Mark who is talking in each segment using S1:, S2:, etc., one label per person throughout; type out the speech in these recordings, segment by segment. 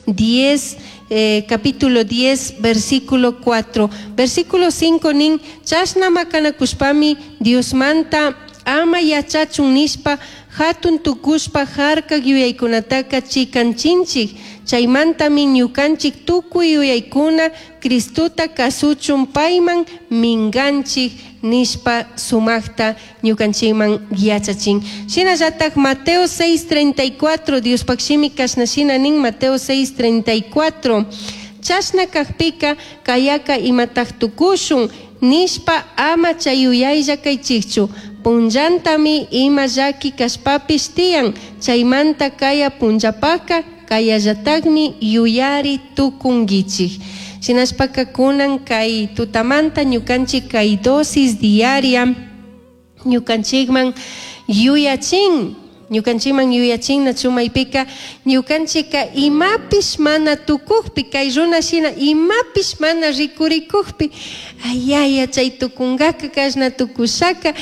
S1: 10, capítulo 10, versículo 4. Versículo 5 nin, chashna macanacushpami Diosmanta ama yachachun nishpa jatun tucushpa jarcaj yuyaicunataca chicanchinchij. Chaimantami ñucanchij tucui yuyaicuna Cristota cazuchun paiman minganchij nishpa sumajta ñucanchijman yachachin. Shinallataj Mateo 6:34 Diospaj shimi cashna shina nin Mateo 6:34 Chashna cajpica cayaca imataj tucushun nishpa ama chay yuyaylla caichijchu. Punllantami ima llaqui cashpapish tiyan chaymanta kaya punllapaka kayallatakmi yuyari tukunkichik. Shinashpaka kunan kay tutamanta ñukanchik kay dosis diaria ñukanchikman yuyachin ñukanchikman yuyachin nachu maypika ñukanchika imapish mana tukukpi kay runa shina imapish mana rikurikukpi ayaya chay tukunkaka kashna tukushaka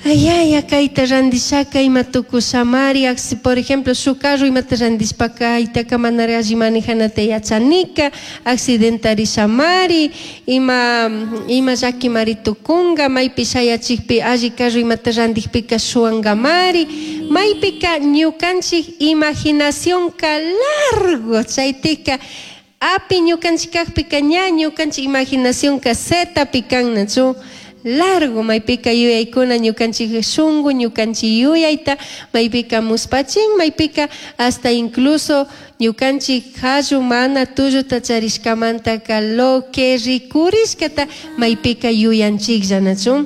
S1: ayaya kayta randishaka ima tukushamari por ejemplo shuk carro imata randishpaka aytaka manara alli manejanata yachanika accidentarishamari ima ima llakimari tukunga maypi shayachikpi alli carro imata randikpika shuwankamari maypika ñukanchik imaginacionka largo chaytika api ñukanchik kakpika ña ñukanchik imaginacionka zetapi kan nachu largo maypika yuyaykuna ñukanchik shunku ñukanchik yuyayta maypika muspachin maypika hasta incluso ñukanchik qallu mana tulluta charishkamantaka lo que rikurishkata maypika yuyanchiklla nachu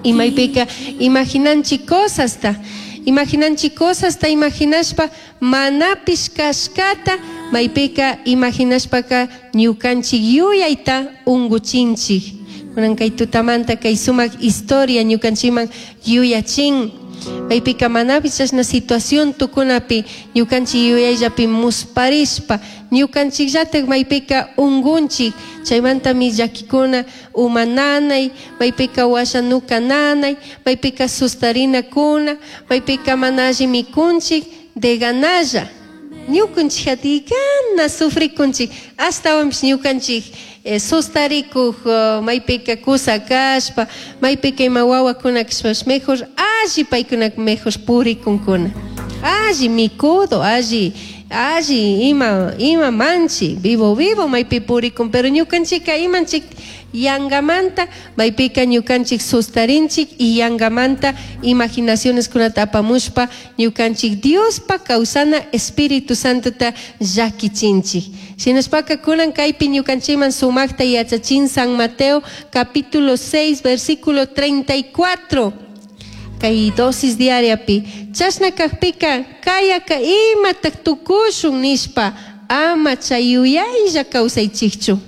S1: y maypika imaginanchik cosasta imaginanchik cosasta imaginashpa manapish kashkata maypika imaginashpaka ñukanchik yuyayta unguchinchik kunan kay tutamanta kay sumak historia ñukanchikman yuyachin maypika manapish chashna situación tukunapi ñukanchik yuyayllapi musparishpa ñukanchikllatak maypika ungunchik chaymantami llakikuna uma nanay maypika washa nuka nanay maypika sustarinakuna maypika mana alli mikunchik de ganalla ñukanchik atigana sufrikunchik ashtawanpish ñukanchik sustarikuk maypika kusa kashpa maypika ima wawakuna kashpapish mejor alli paykunaka mejor purikunkuna alli mikudo alli alli ima ima manchi vivo vivo maypi purikun pero ñukanchika imanchik yangamanta maypika ñukanchik sustarinchik y yangamanta imaginacioneskunata apamushpa ñukanchik Diospa kawsana Espíritu Santota llakichinchik. Shinashpaka kunan kaypi ñukanchikman sumakta yachachin San Mateo capítulo 6 versículo 34 kay dosis diariapi chashna kakpika kayaka imatak tukushun nishpa ama chay yuyaylla kawsaychikchu.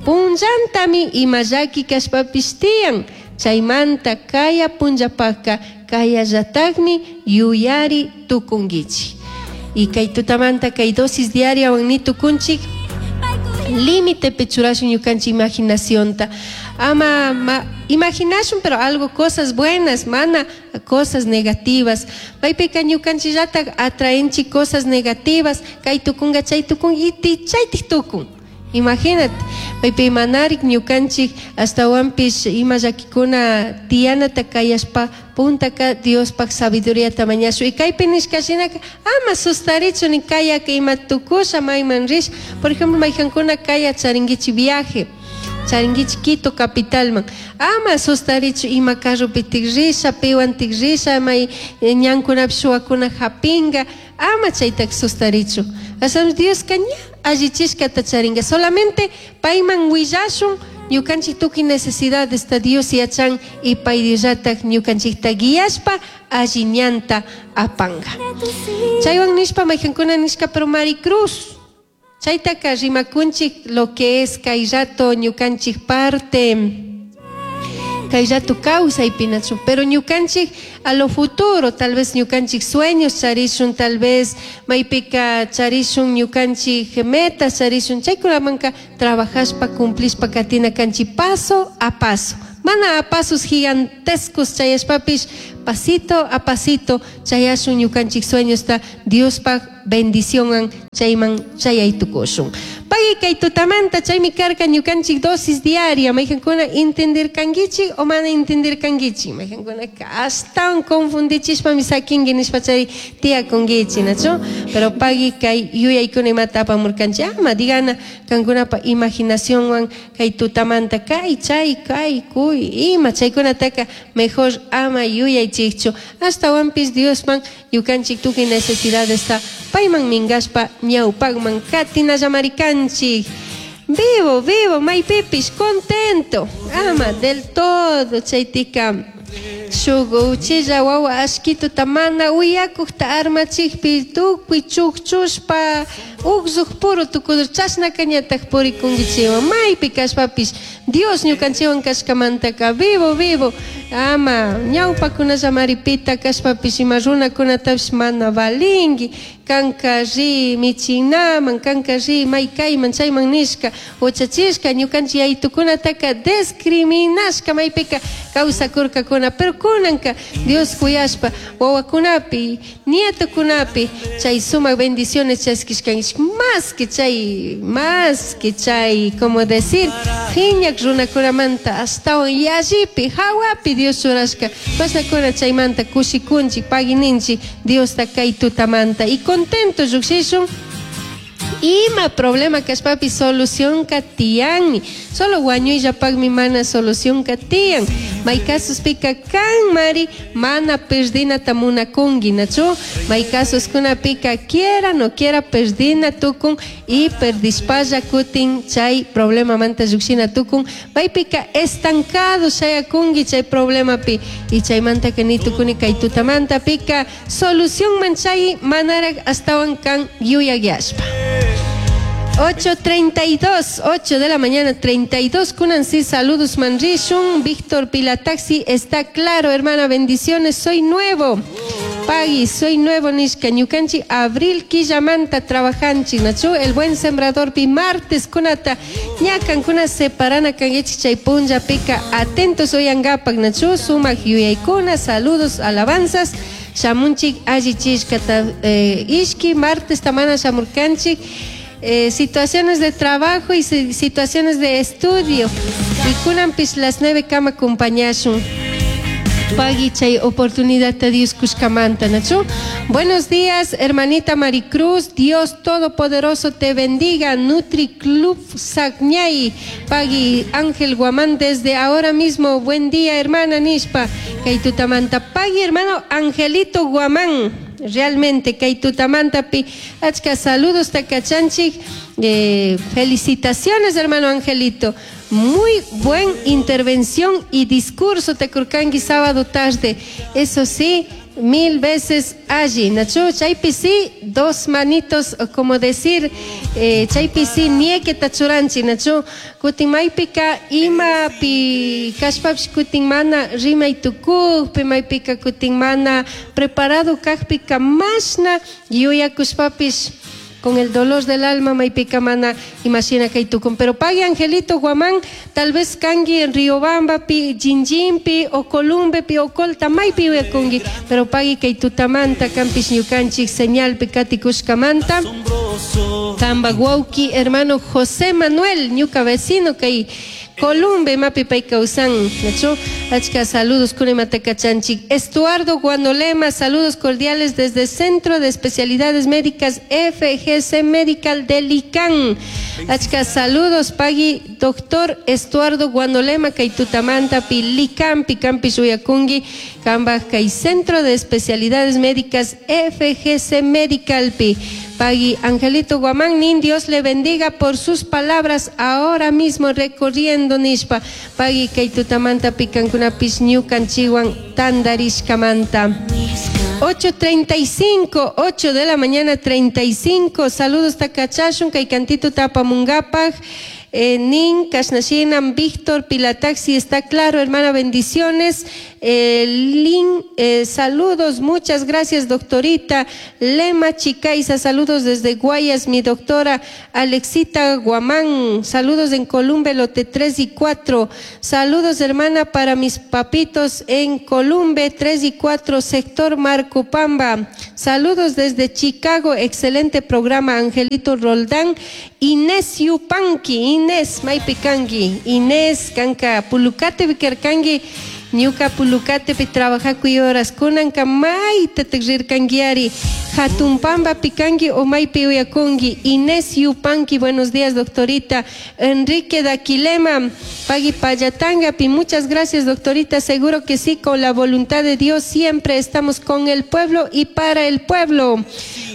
S1: Punllantami ima llaki kashpapish tiyan chaymanta kaya punllapaka kayallatakmi yuyari tukunkichik. Y kay tutamanta kay dosis diariawan ni tukunchik límitepi churashun ñukanchik imaginacionta ama ma, imaginashun pero algo cosas buenas mana cosas negativas maypika ñukanchikllatak atraenchik cosas negativas kay tukunka chay tukun y chaytik tukun imagínate maypi manarik ñukanchik ashtawanpish ima llakikuna tiyanata kayashpa puntaka Diospaj sabiduriata mañashun y kaypi nishka shinaka ama sustarichu ni kayaka ima tukusha mayman rish por ejemplo mayjankuna kaya charinkichik viaje charinkichik Quito capitalman ama sustarichu ima carropitik risha piwantik risha may ñankunapi shuwakuna hapinga ama chaytaka sustarichu ashtawan Dioska ña allichishkata charinga solamente payman willashun ñukanchik tukuy necesidadesta Dios yachan y pay Diosllatak ñukanchikta guiashpa alli ñanta apanga chaywan nishpa mayjankuna nishka pero Maricruz chaytaka rimakunchik lo que es kay rato ñukanchik parte kay rato kawsaypinachu pero ñukanchik a lo futuro tal vez ñukanchik sueños charishun tal vez maypika charishun ñukanchik metas charishun chaykunamanka trabajashpa cumplishpa katina kanchik paso a paso. Mana a pasos gigantescos chayashpapish pasito a pasito chayashun ñukanchik sueñosta Diospaj bendicionwan chayman chayay tukushun. Pagui kay tutamanta chaymi karka ñukanchik dosis diaria. Mayqankuna entendirkankichik o mana entendirkankichik. Mayqankunaka ashtawan confundichishpami sakinki nishpa chay tiyakunkichik, nachu? Pero pagui kay yuyaykuna imata apamurkanchik. Ama digana kankunapa imaginacionwan kay tutamanta kay chay kay kuy ima chaykunataka mejor ama yuyaychikchu. Ashtawanpish Diosman ñukanchik tukuy necesidadesta payman minkashpa ñawpakman katinallamarikanchik. Vivo, vivo, maypipish contento. Ama del todo chaytika shuk uchilla wawa ashkituta mana uyakukta armachikpi tukuy chukchushpa uklluk puro tukudur chashnaka ñatak purikunkichikwan maypi kashpapish Dios ñukanchikwan kashkamantaka vivo, vivo. Ama ñawpakunallamari pita kashpapish ima runakunatapish mana valinki. Kanka ri michinaman, kanka ri may kayman chayman nishka huchachishka ñukanchik yaytukunataka discriminashka maypika kawsakurkakuna. Pero kunanka Dios kuyashpa wawakunapi, nietokunapi chay sumak bendiciones chaskishkanchik más que chay, más que chay, como decir, phiñak runakunamanta ashtawan yallipi, hawapi Dios churashka. Pasakuna chaymanta kushikunchik, pagininchik Diosta kay tutamanta y contento llukshishun. Ima problema kashpapi solución tiyanmi. Solo wañuyllapakmi mana solución tiyan. May kasuspika kan mari mana perdinata munakunki, nachu? May kasuskunapika quiera no quiera perdina tukun y perdishpalla kutin chay problemamanta llukshina tukun. Maypika estancado shayakunki chay problemapi y chaymantaka ni tukuni kay tutamanta pika solución man chay manarak astawan kan yuyakyashpa. 8:32, 8 de la mañana, 32. Kunansi, saludos manrishun. Víctor Pilataxi, está claro, hermana, bendiciones, soy nuevo. Pagui, soy nuevo, nishka, ñukanchi, abril quillamanta trabajanchi, nachu, el buen sembrador pi martes kunata, ñakan kuna separana kangechi chay punlla pica, atentos oyangapak, nachu, sumak yuyaykuna, saludos, alabanzas. Shamunchik allichishkata, ishki martes tamana shamurkanchik. Situaciones de trabajo y situaciones de estudio. Y kunampis las 9 kama acompañashun. Pagui chay oportunidad te Dios kushkamanta, nachu. Buenos días, hermanita Maricruz. Dios Todopoderoso te bendiga. Nutri Club Sagñay. Pagui Ángel Guamán desde ahora mismo. Buen día, hermana Nishpa. Kaitutamanta. Pagui, hermano Angelito Guamán. Realmente, Kaitutamanta pi. Achka saludos, takachanchik. Felicitaciones, hermano Angelito. Muy buen intervención y discurso tekurkangi sábado tarde. Eso sí, 1000 veces allí. Nacho, chaypi sí, dos manitos, como decir, chaypi sí, nieke tachuranchi, nacho, kutin maypika ima pi kashpapish kutin mana rimay tukukpi, maypika kutin mana preparado kajpika mashna yuyakushpapish con el dolor del alma maypika mana imashina kay tukun. Pero pagui Angelito Guamán, tal vez kangi en Riobamba pi, Jinjinpi o Columbe pi o Colta maypi uyakungi, pero pagui kay tutamanta kampish ñukanchik señal pi katikushkamanta. Tamba guauki hermano José Manuel, ñuka vecino kay Columbe mapi pay kausan, nacho, achka saludos kunematacachanchik. Estuardo Guanolema, saludos cordiales desde Centro de Especialidades Médicas FGC Medical de Licán. Achka saludos pagui doctor Estuardo Guanolema kaitutamanta pi Licán pi campi suyacungi kambaj kay Centro de Especialidades Médicas FGC Medical pi. Pagui Angelito Guamán, nin Dios le bendiga por sus palabras ahora mismo recorriendo nishpa. Pagui kaitutamanta picankunapis ñukan chiwan tandarishkamanta. 8:35, 8 de la mañana 35. Saludos takachashun kay cantito tapamungapaj. Nin Kashnashinam, Víctor Pilataxi, está claro, hermana, bendiciones. Lin, saludos, muchas gracias, doctorita. Lema Chicaiza, saludos desde Guayas, mi doctora Alexita Guamán, saludos en Columbe, lote 3 y 4. Saludos, hermana, para mis papitos en Columbe, 3 y 4, sector Marcopamba. Saludos desde Chicago, excelente programa, Angelito Roldán. Inés Yupanqui, Inés Maipicanqui, Inés Kanka, Pulucate Vicarcangui. Ñuka Pulucatepi trabajakuy horas kunanka maytataq rirkankiari Hatunpamba pikanki o maypi uyakunki. Inés Yupanqui, buenos días, doctorita. Enrique Daquilema, Pagui Payatangapi, muchas gracias, doctorita. Seguro que sí, con la voluntad de Dios siempre estamos con el pueblo y para el pueblo.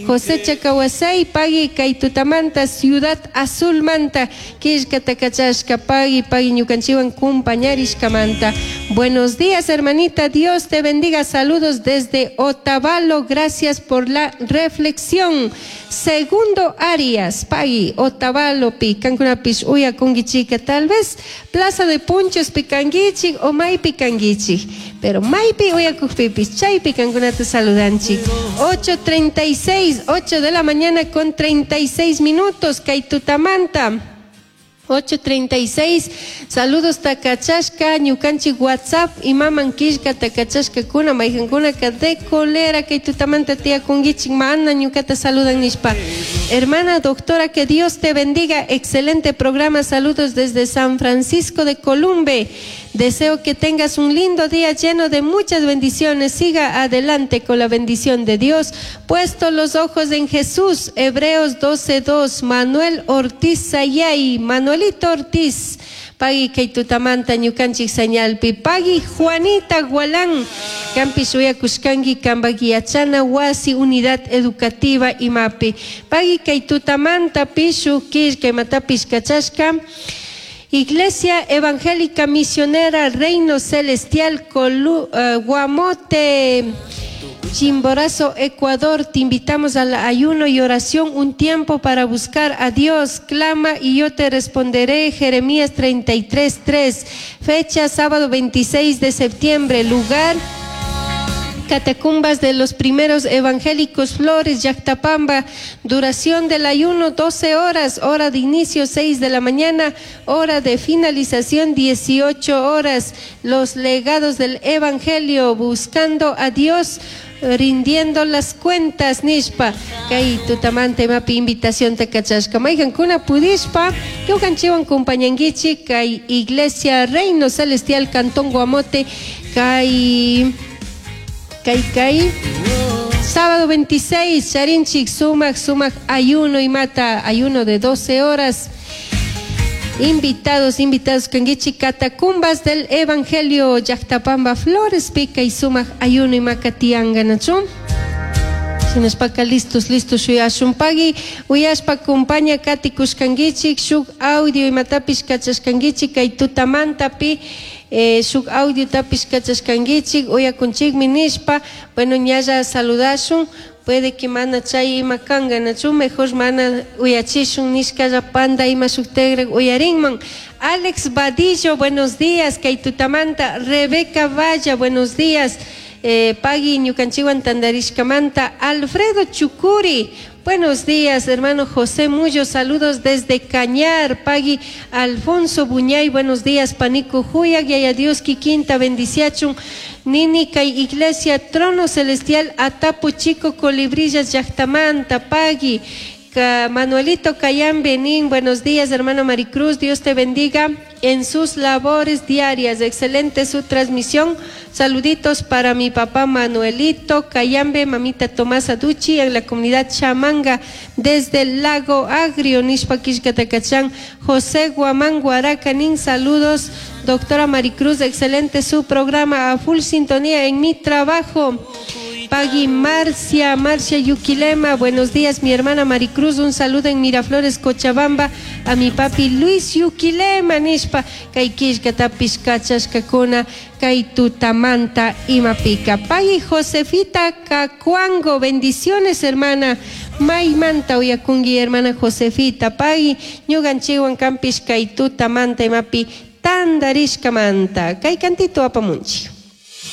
S1: José Chacahuasay, Pagui Kaitutamanta, Ciudad Azul Manta, Kishkatakachashka, Pagui, Pagui Ñukanchiwan, Kumpañarishkamanta. Buenos días, hermanita. Dios te bendiga. Saludos desde Otavalo. Gracias por la reflexión. Segundo Arias, Pagui, Otavalo, Picancunapish, Uya, Kungichica, tal vez Plaza de Punchos, Picanguichi o May Picanguichi. Pero Maypi Uyakujpipis, Chay Picancunata saludanchi. 8:36, 8 de la mañana con 36 minutos, Kaitutamanta. 8:36, saludos takachashka, ñukanchik WhatsApp, imaman killka takachashka kuna, mayqankunaka de colera kay tutamanta tiyakunkichik mana ñukata saludan nishpa. Hermana doctora, que Dios te bendiga, excelente programa, saludos desde San Francisco de Columbe. Deseo que tengas un lindo día lleno de muchas bendiciones. Siga adelante con la bendición de Dios. Puesto los ojos en Jesús. Hebreos 12:2. Manuel Ortiz Sayay. Manuelito Ortiz. Pagui kay tutamanta ñukanchik señalpi. Pagui Juanita Gualán. Kampi uyakushkanki kambaki yachana wasi unidad educativa imapi. Pagui kay tutamanta pishu killka imatapish kachashka. Iglesia Evangélica Misionera Reino Celestial Guamote, Chimborazo, Ecuador. Te invitamos al ayuno y oración, un tiempo para buscar a Dios. Clama y yo te responderé. Jeremías 33:3. Fecha sábado 26 de septiembre. Lugar Catacumbas de los Primeros Evangélicos Flores, Llactapamba. Duración del ayuno 12 horas, hora de inicio 6 de la mañana, hora de finalización 18 horas. Los legados del Evangelio, buscando a Dios, rindiendo las cuentas, nishpa. Kay tutamanta imapi invitación takachashka. Mayqankuna pudishpa, ñukanchikwan compañankichik kay Iglesia Reino Celestial Cantón Guamote, kay Kay, kay. Sábado 26, Charinchik, sumak, sumak, ayuno y mata, ayuno de 12 horas. Invitados, invitados, kankichi, Catacumbas del Evangelio, Llactapamba, Flores, Pica y sumak, ayuno y macatianga, nachu. Shinashpaka listos, listos, shuyashun pagui, uyashpa compaña katikushkankichik, shuk audio imatapish kachashkankichik, kay tutamantapi, shuk audio tapish kachashkankichik, uyakunchikmi nishpa, bueno, ñalla saludashun, puede que mana chay ima kanga, nachu, mejor mana uyachishun nishkalla panda ima shuk tegrek uyarinman. Alex Vadillo, buenos días, kay tutamanta. Rebeca Valla, buenos días. Pagui ñukanchikwan tandarishkamanta. Alfredo Chucuri, buenos días, hermano José Mullo, saludos desde Cañar. Pagui Alfonso Buñay, buenos días, Panico Juya, Yaya Dios Kikinta, bendiciachun. Nini kay Iglesia Trono Celestial, Atapu Chico, Colibrillas, Llactamanta, Pagui. Manuelito Cayán Benín, buenos días, hermano Maricruz, Dios te bendiga en sus labores diarias. Excelente su transmisión. Saluditos para mi papá Manuelito Cayambe, mamita Tomasa Duchi, en la comunidad Chamanga, desde el Lago Agrio, Nishpa Quishcatacachán. José Guamán Guaracanín, saludos. Doctora Maricruz, excelente su programa, a full sintonía en mi trabajo. Pagui Marcia, Marcia Yuquilema, buenos días, mi hermana Maricruz, un saludo en Miraflores, Cochabamba, a mi papi Luis Yuquilema, nishpa, kay killkatapish kachashkakuna, kay tutamanta imapika. Pagui Josefita Cacuango, bendiciones, hermana. Maymanta uyakungi, hermana Josefita. Pagui ñukanchikwan kampish kay tutamanta imapi tandarishkamanta. Kay cantito apamunchi.